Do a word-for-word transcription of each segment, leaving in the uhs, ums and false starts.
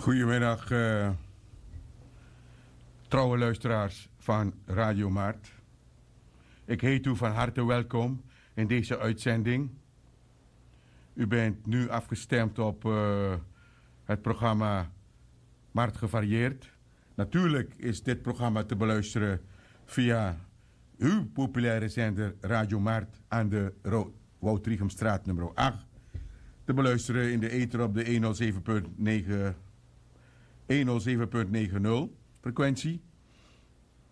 Goedemiddag, eh, trouwe luisteraars van Radio Mart. Ik heet u van harte welkom in deze uitzending. U bent nu afgestemd op, eh, het programma Mart Gevarieerd. Natuurlijk is dit programma te beluisteren via uw populaire zender Radio Mart aan de Ro-, Wout Riegumstraat nummer acht. Te beluisteren in de ether op de honderdzeven punt negen, honderdzeven punt negen nul frequentie.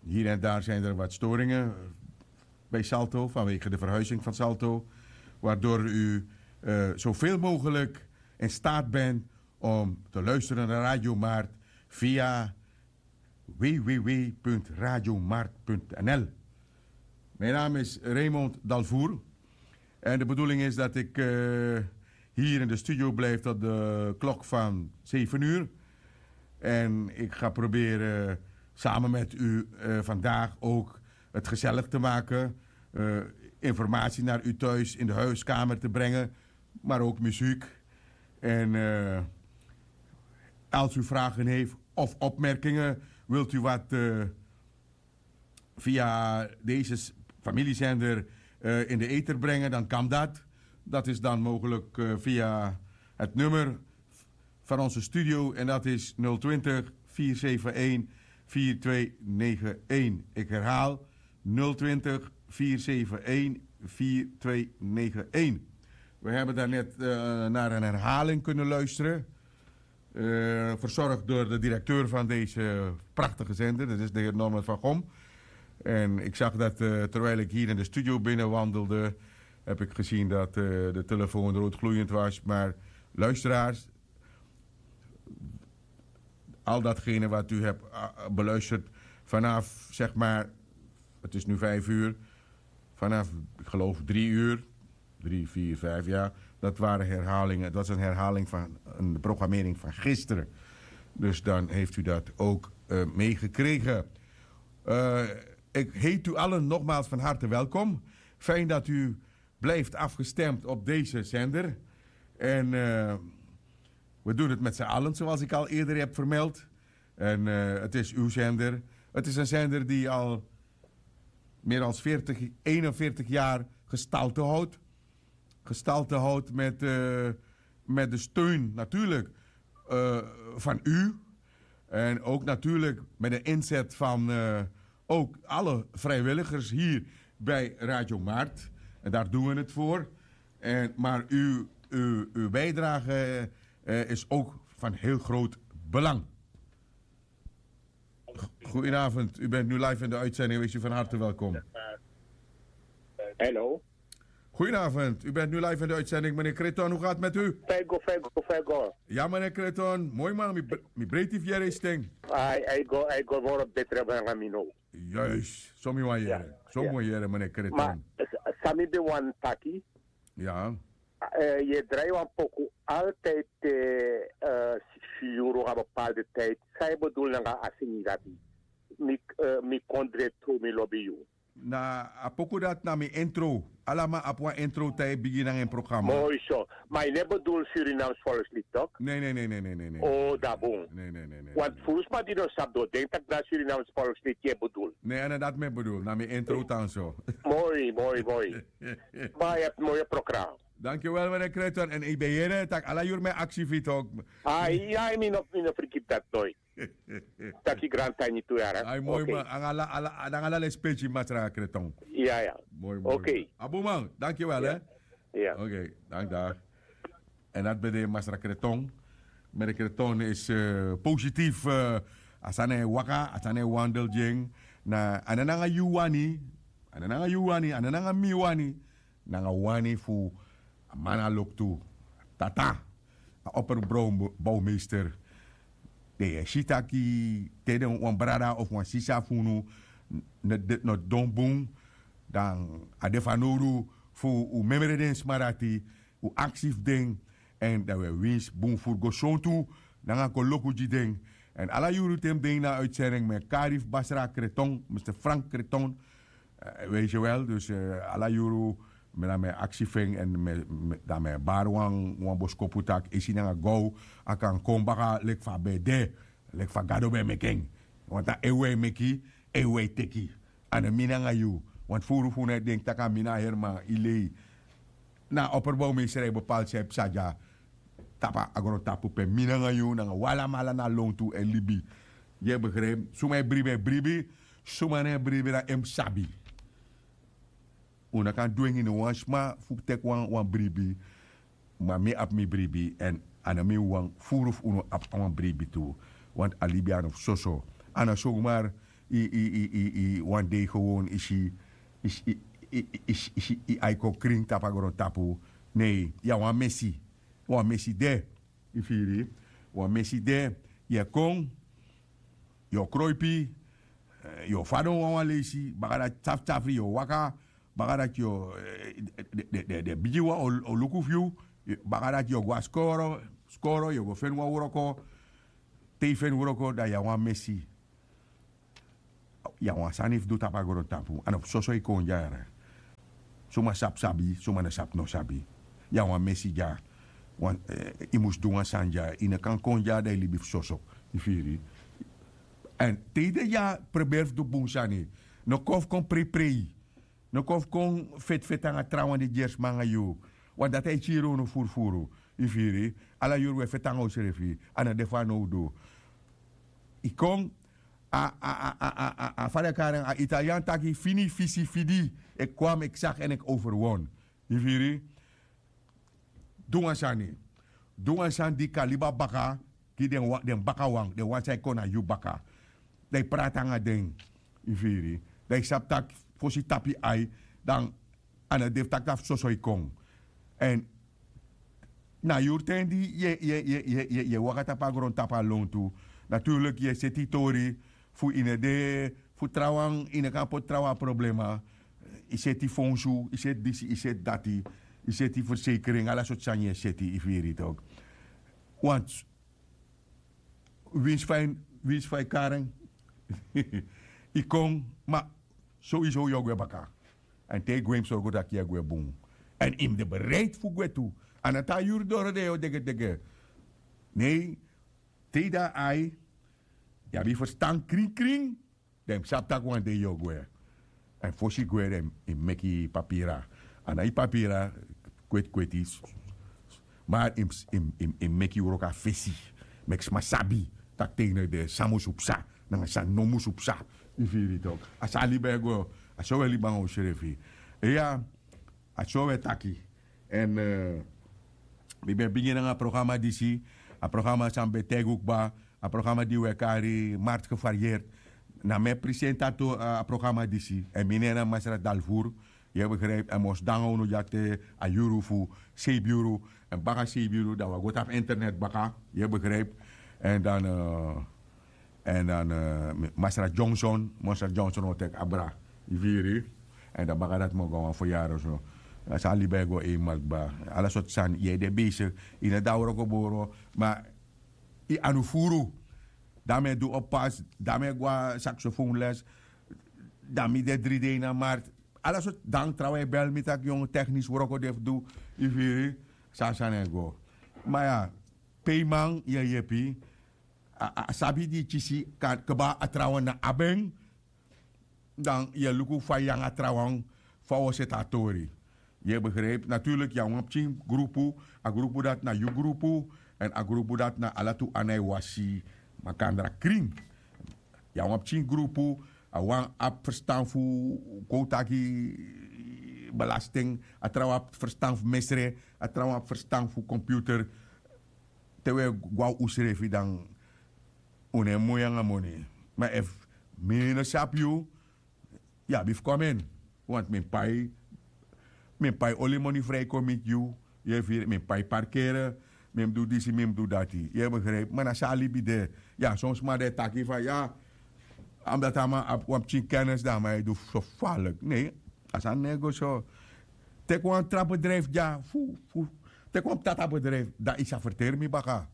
Hier en daar zijn er wat storingen bij Salto vanwege de verhuizing van Salto, waardoor u, eh, zoveel mogelijk in staat bent om te luisteren naar Radio Mart via w w w punt radiomart punt n l. Mijn naam is Raymond Dalvoer en de bedoeling is dat ik, eh, hier in de studio blijf tot de klok van zeven uur. En ik ga proberen samen met u, eh, vandaag ook het gezellig te maken, eh, informatie naar u thuis in de huiskamer te brengen, maar ook muziek. En, eh, als u vragen heeft of opmerkingen, wilt u wat, eh, via deze s-, familiezender, eh, in de ether brengen, dan kan dat. Dat is dan mogelijk, eh, via het nummer van onze studio en dat is nul twintig, vier zeven één, vier twee negen één. Ik herhaal, nul twintig, vier zeven één, vier twee negen één. We hebben daarnet, eh, naar een herhaling kunnen luisteren, eh, verzorgd door de directeur van deze prachtige zender, dat is de heer Norman van Gom. En ik zag dat, eh, terwijl ik hier in de studio binnenwandelde, heb ik gezien dat, eh, de telefoon roodgloeiend was. Maar luisteraars, al datgene wat u hebt, eh, beluisterd vanaf, zeg maar, het is nu vijf uur, vanaf, ik geloof, drie uur, drie, vier, vijf, ja, dat waren herhalingen. Dat was een herhaling van een programmering van gisteren. Dus dan heeft u dat ook, eh, meegekregen. Eh, ik heet u allen nogmaals van harte welkom. Fijn dat u blijft afgestemd op deze zender. En, eh, we doen het met z'n allen, zoals ik al eerder heb vermeld. En, eh, het is uw zender. Het is een zender die al meer dan veertig, eenenveertig jaar gestalte houdt. Gestalte houdt met, eh, met de steun natuurlijk, eh, van u. En ook natuurlijk met de inzet van, eh, ook alle vrijwilligers hier bij Radio Mart. En daar doen we het voor. En, maar uw, uw, uw bijdrage, eh, is ook van heel groot belang. Goedenavond, u bent nu live in de uitzending. Wees u van harte welkom. Hello. Goedenavond, u bent nu live in de uitzending. Meneer Kreton, hoe gaat het met u? Fijn go, fijn go, fijn go. Ja, meneer Kreton, mooi man, mi bre-, mi breiti fiere sting. Ai, ai go, ai go, woro betre banga mi no. Juist, so mi wan yere. So mi wan yere, meneer Kreton. Ma, s-, san mi ben wani taki. Ja. Eh, yu e drai wan poku altijd te, eh, si yu go na bepaalde tijd. San yu bedoel nanga a singi dati? Mi, eh, mi kondre tru, mi lobi yu. Na a poku dati na mi intro. Ala man abi wan intro te a e bigin nanga en programma. Moi so. Ma yu no e bedoel Surinaams volkslied, toch? Nee, nee, nee, nee, nee, nee, nee. Oh, dan bun. Nee, nee, nee, nee. Want fu sma di no sabi, den o denki taki na Surinaams volkslied yu e bedoel. Nee, a no dati mi e bedoel. Na mi intro tan so. Moi, moi, moi. Ma yu abi moi programma. Dankjewel, meneer Kreton. En ik ben hier, tak ala yur me activitok. Ai, ai, mi no, mi no frikip dat nooit. Taki grand tiny tu yara. Ai, moi man. Anga ala, ala, anga ala lespeci, masra Kreton. Ja, ja. Moi, moi. Oké. Abuman, dankjewel, hè. Ja. Oké, dank, dag. En dat ben de masra Kreton. Meneer Kreton is, eh, positief, eh, a sani e waka, a sani e wandel ding. Na, a no nanga yu wani, a no nanga yu wani, a no nanga mi wani. Nanga wani fu a man na loktu, tata, a opperbouwmeester. Den e si taki te den wan brada of wan sisa fu unu no, no, no don bun, dan a de fanowdu fu un memre den sma dati, un aksi fu den, en dan un e winsi bun furu go sontu nanga koloku gi den. En ala yuru te mi de ini a uitzending, mi e kari fu Basra Kreton, mister Frank Kreton, eh, weet je wel, dus, eh, ala yuru Mi dan mi e aksi fu en èn mi e bari wan boskopu tak' esi nanga gow a kan kon baka leki fa a ben de, leki fa gado ben meki en. Wantu na ewe e meki, ewe e teki. A no mi nanga yu. Wantu furu fu unu e denki tak' a mi na a heri man. Yu lei. Na a operbow mi e srei bepalti san e psa dya tapu a grontapu pe mi nanga yu nanga un alamala na lontu e libi. Yu e begribi? Suma e bribi e bribi. Suma no e bribi dan en mus sabi. Un no kan dwengi no wan sma fu teki wan bribi. Ma mi abi mi bribi èn a no mi wawan furu fu unu abi wan bribi tu. Wantu a libi a no fu soso. A no sogmar yu wan dei gewon yu si yu ai kon krin tapu a grontapu. Nei, yu na wan mesi. Wan mesi de. Yu firi? Wan mesi de. Yu e kon, yu o kroipi, yu o fadon wanwan leisi baka dati safri safri yu o waka. Baka dati yu o den bigi wan o luku fu yu. Baka dati yu o go na skoro, skoro yu o go feni wan wroko. Te yu feni wroko dan yu na wan mesi. Yu na wan sani fu du tapu a grontapu a no fu soso yu kon dya. Suma sabi sabi, suma no sabi no sabi. Yu na wan mesi dya. Yu mus du wan sani dya yu no kan kon dya dan yu libi fu soso. Yu firi? Èn te yu de dya, preberi fu du bun sani. No kon fu kon preiprei. No kon fu kon feti feti nanga trawan di dyeri sma nanga yu. Wan dati a e kiri unu furufuru. Yu firi? Ala yuru un e feti nanga unsrefi. A no de fu a nowdu. Yu kon. A fa den e kari en a italian taki fini fisi fidi. Eki kwam eki saki èn eki overwon. Yu firi? Du wan sani. Du wan sani di kan libi a baka gi den bakawan den wan san e kon na yu baka. Dan yu prati nanga den. Yu firi? Dan yu sabi tak' fosi yu tapu yu ai dan a no de fu taki na fu soso yu kon. Èn na yuru ten di yu e waka tapu a grontapu a lontu. Naturlik yu e seti yu tori fu yu no de fu trawan yu no kan poti trawan a problema. Yu seti fonsu, yu seti disi, yu seti dati. Yu seti fersekering ala sortu sani yu e seti yu firi tok. Want winsi fa yu kari en yu kon ma sowieso yu o gwe baka. Èn te yu gwe yu mus sorgu tak' yu e gwe bun. Èn yu mus de bereid fu gwe tu. A no tan yuru doro den yu o degedege. Nei. Te yu de na ai yu abi yu ferstan krinkrin. Dan yu mus sabi tak' wan dei yu o gwe. Èn fosi yu gwe dan yu mus meki yu papira. A na yu papira kweti kweti. Mar yu mus meki yu wroko na fesi. Meki sma sabi tak' te yu no de san musu psa nanga san no musu psa. Yu firi tok? A so a libi e go. A so wi e libi nanga unsrefi. Iya. A so wi e taki. Èn mi ben bigin nanga a programa disi. A programa san mi ben taigi un kba. A programa di wi e kari marti gevarieerd. Na mi e presentato a programa disi èn mi nen na masra dalvour. Yu e begripi èn mi o sidon nanga unu dya te a yuru fu seibi yuru. Èn baka seibi yuru dan wi a go tapu internet baka. Yu e begripi? Èn dan èn dan masra johnson masra johnson o teki abra. Yu firi? Èn dan baka dati mi o go na wan feryari so. A so a libi e go einmal kba. Ala sortu sani yu e de besik. Yu no de na wroko boro. Ma yu anu furu. Dan mi e du oppas dan mi e go na saksofonles. Dan mi de dri dei na marti. Ala sortu dan trawan e bel mi tak' yongu teknisi wroko de fu du. Yu firi? So a sani e go. Ma ya, pe yu man yu e yepi. A sabi di yu kisi kba a trawan na abi en. Dan yu e luku fa yu nanga a trawan fa wi o seti a tori. Yu e begripi naturlik yu na wan pikin grupu. A grupu dati na yu grupu. Èn a grupu dati na ala tu ana e wasi makandra krin. Yu na wan pikin grupu. A wan abi ferstan fu kon un taki belasting. A trawan abi ferstan fu mesre. A trawan abi ferstan fu komputer. Te un e go na unsrefi dan un no e moi nanga moni. Ma efu mi no sabi yu yu abi fu kon na mi en. Want mi mus pai mi mus pai oli moni fri kon miti yu. Yu e firi mi mus pai parkere. Mi mus du disi mi mus du dati yu e begripi ma na so a libi de. Ya son sma di e taki fa ya a mus dati a man abi wan pikin kennis dan a man e du so falik nei. A sani no e go so. Teki wan tra bedrijfi dya fu fu teki wan ptata bedrijfi dan yu sa ferteri mi baka.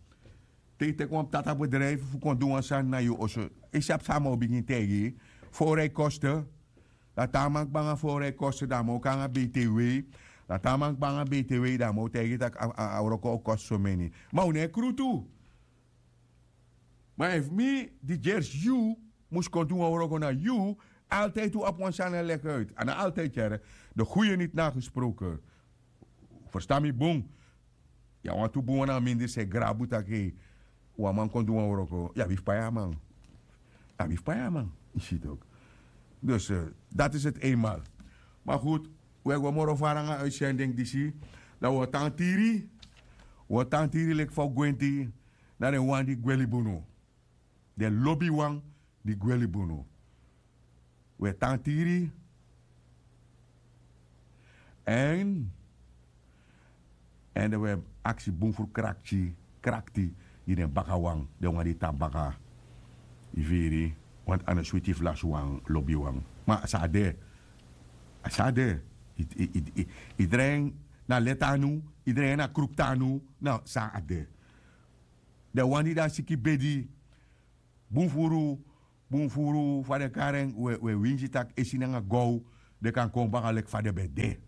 Te yu teki wan ptata bedrijfi fu kon du wan sani na yu oso. Yu sabi san a man o bigin taigi yu? Fori a yu koste. Dan te a man kba nanga fori a yu koste dan a man o kon nanga btw. Dan te a man kba nanga btw, dan a man o taigi yu tak' a wroko o kosi someni. Ma un no e krutu. Ma efu mi di gersi yu mus kon du wan wroko na yu, altijdi un abi wan sani e legi uit. A no altijdi yere. De guye niti na a gesproken. Ferstan mi bun. Yu a wantu bun wan na a mindri san e grabu taki wan man kon du wan wroko, yu abi fu pai a man. Yu abi fu pai a man. Yu si toki. Dus dati isi eti einmal. Ma gudu, un e go moro fara nanga a uitsending disi. Dan un o tan tiri. Un o tan tiri leki fa un gwenti. Na den wan di gwe libi unu. Den lobiwan di gwe libi unu. Un e tan tiri. Èn èn den un e aksi bun furu krakti krakti gi den bakawan, den wan di tan baka. Yu firi? Wantu a no switi fu lasi wan lobiwan. Ma a sa de. A sa de. Idren na leti anu. Idren na kruktu anu. Na san a de. Den wan di de a siki bedi. Bun furu bun furu fa den kari en, un e winsi tak' esi nanga gow den kan kon baka leki fa den ben de.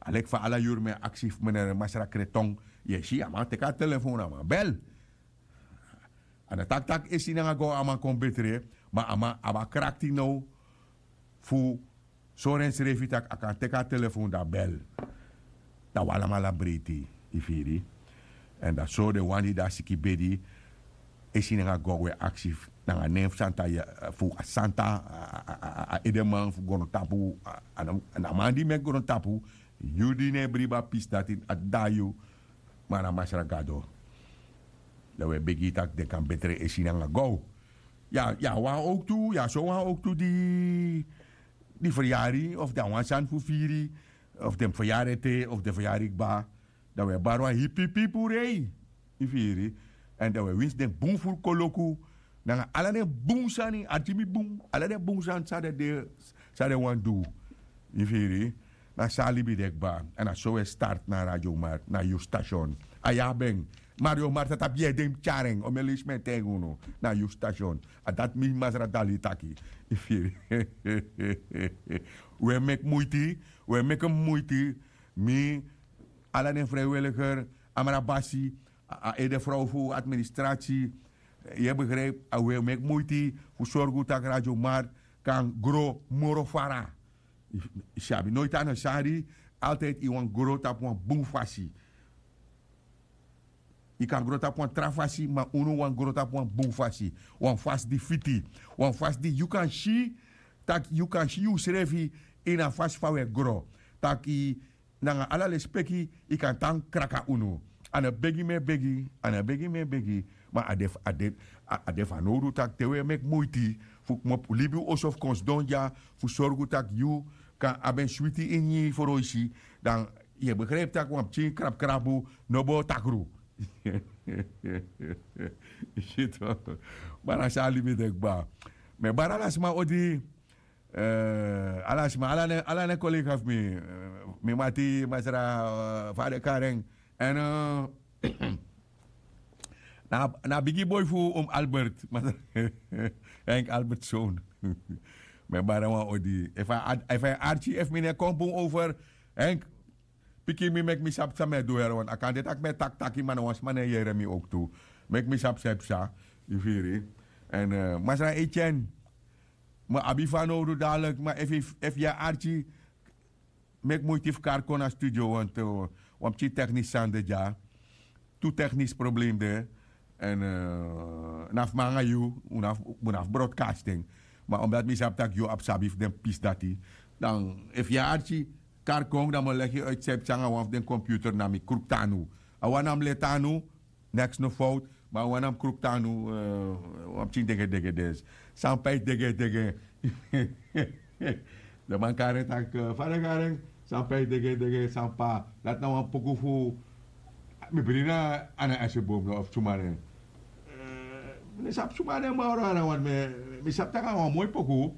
A leki fa ala yuru mi e aksi fu menere masra kreton. Yu e si a man teki a telefon a man bel. A no taki tak' esi nanga gow a man kon betre. Ma a man abi a krakti now fu sori ensrefi tak' a kan teki a telefon dan bel. Dan un alamala breiti. Yu firi? Èn dan so den wan di de a siki bedi esi nanga gogo e aksi nanga nen fu santa fu a santa a edeman fu grontapu. Na a man di meki grontapu yu di no e bribi a pisi dati a dida yu. Ma na masra gado. Dan un e begi yu tak' den kan betre esi nanga gow. Yu a wan owktu yu a so wan owktu di di feryari of den a wan sani fu firi of den mus feryari ete of den feryari kba. Dan un e bari wan hipihipi puru ei. Yu firi? Èn dan un e winsi den bun furu koloku nanga ala den bun sani arki mi bun ala den bun sani san den de san den wani du. Yu firi? Na so a libi de kba. Èn na so un e starti na a radio mark na yu stasion. A yu abi en. Mario mark a tapu yu ede yu mus tyari en o mi e leisi mi e taigi unu. Na yu stasion. A dati mi masra dali taki. Yu firi? Un e meki muiti. Un e meki muiti. Mi ala den freiwiliger amrabasi a ede frow fu administrati. Yu e begripi? A un e meki muiti fu sorgu tak' radio mark kan gro moro fara. Yu sabi noiti a no sari. Altidi yu wani gro tapu wan bun fasi. Yu kan gro tapu wan tra fasi ma unu wani gro tapu wan bun fasi. Wan fasi di fiti. Wan fasi di yu kan si tak' yu kan si yusrefi ini a fasi fa un e gro. Tak' nanga ala lespeki yu kan tan kraka unu. A no begi mi e begi. A no begi mi e begi. Ma a de fanowdu tak' te un e meki muiti fu kmopu libi un oso fu kon sidon dya fu sorgu tak' yu kan abi en switi ini yu froisi. Dan yu e begripi tak' wan pikin krabukrabu no bo takru. Yu si to? Ma na so a libi de kba. Mi e bari ala sma odi. Ala sma ala den kolega fu mi. Mi mati masra fade karen. Èn na a bigi boi fu un albert masra. Henk albert son. Mi e bari en wan odi efu a e arki efu mi no e kon bun over. Henk piki mi meki mi sabi san mi e du yere wan a kan de tak' mi e taki taki ma na wan sma no e yere mi owktu. Meki mi sabi san e psa. Yu firi? Èn masra etyen mi abi fanowdu dadilik ma efu yu e arki meki muiti fu kari kon na studio wantu wan pikin teknisi sani de dya. Tu teknisi problem de. Èn na fu mi nanga yu un no abi broadcasting. Ma omdati mi sabi tak' yu abi sabi fu den pisi dati. Dan efu yu e arki kari kon dan mi o legi yu uitsepsi nanga wan fu den computer na mi kruktu anu. A wan na mi leti anu. Neks no fowtu. Ma a wan na mi kruktu anu. Wan pikin degedege desi san pai degedege. Den man kari en taki fada kari en san pai degedege san pa. Dati na wan poku fu mi bri na ana esebom no of suma nen. Mi no sabi suma nen moro ana wan mi sabi tak' a wan moi poku.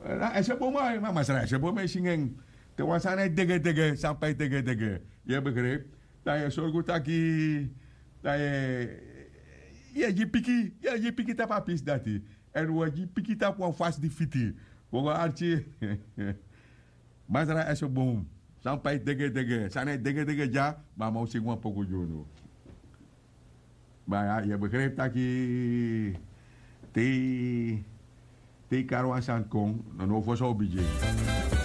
Na esebom ai ma masra esebom e singi en. Te wan sani e degedege san pai degedege. Yu e begripi? Dan yu e sorgu taki dan yu e gi piki yu e gi piki tapu a pisi dati. Èn wi e gi piki tapu wan fasi di fiti. Wi o go arki. Masra ese bun. San pai dege dege san na e dege dege dya. Ma a man o singi wan poku gi unu. Ma yu e begripi taki te yu kari wan sani kon, na now fosi a o bigin.